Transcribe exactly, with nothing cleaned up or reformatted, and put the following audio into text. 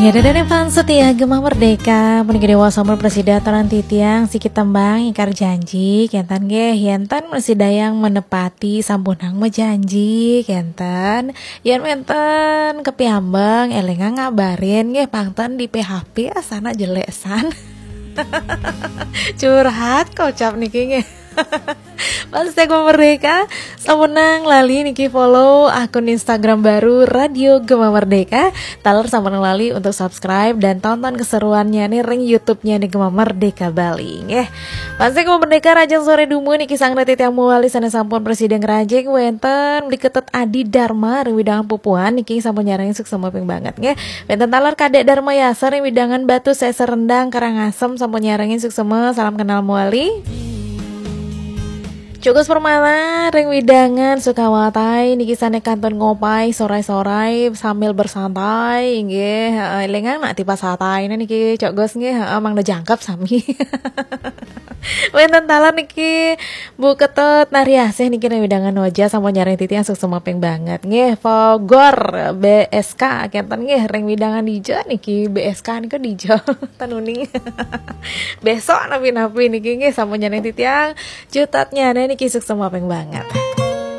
Ya, dadah fans setia Gema Merdeka, puniki dewa sampun prasida toran titiang siki tembang ingkar janji, kenten nggih, yenten prasida yang menepati sampunang mejanji, kenten. Yen wenten kepiambeng, elingang ngabarin nggih, pangten di P H P asana jelek san. Curhat kocap niki nggih. Fans setia Gema Merdeka, sampunang lali niki follow akun Instagram baru Radio Gema Merdeka. Taler sampunang lali untuk subscribe dan tonton keseruannya nih ring YouTube-nya nih Gema Merdeka Bali nggih. Fans setia Gema Merdeka, rahajeng sore dumun niki sang titiang mawali sané sampun prasida ngrajing wenten Bli Ketut Adi Dharma ring wewidangan Pupuan niki sampun nyarengin suksma ping banget nggih. Wenten taler Kadek Dharma Yasa ring wewidangan Batu Seser Rendang Karangasem sampun nyarengin suksma, salam kenal mawali. Cuk Gus Permana ring wewidangan Sukawatai niki sané kantun ngopai sorai-sorai sambil bersantai nggih. Heeh, elingang nak tipas santai niki Cuk Gus nggih, heeh, mangda jangkep sami. Wenten taler niki Bu Ketut Nariasih niki ring wewidangan Oja sampun nyarengin titiang suksma ping banget nggih. Fogor B S K kenten nggih ring wewidangan dija niki, B S K nika dija ten uning. Besok napi-napi niki nggih sampun nyarengin titiang. Cutetnyané niki suksma ping banget.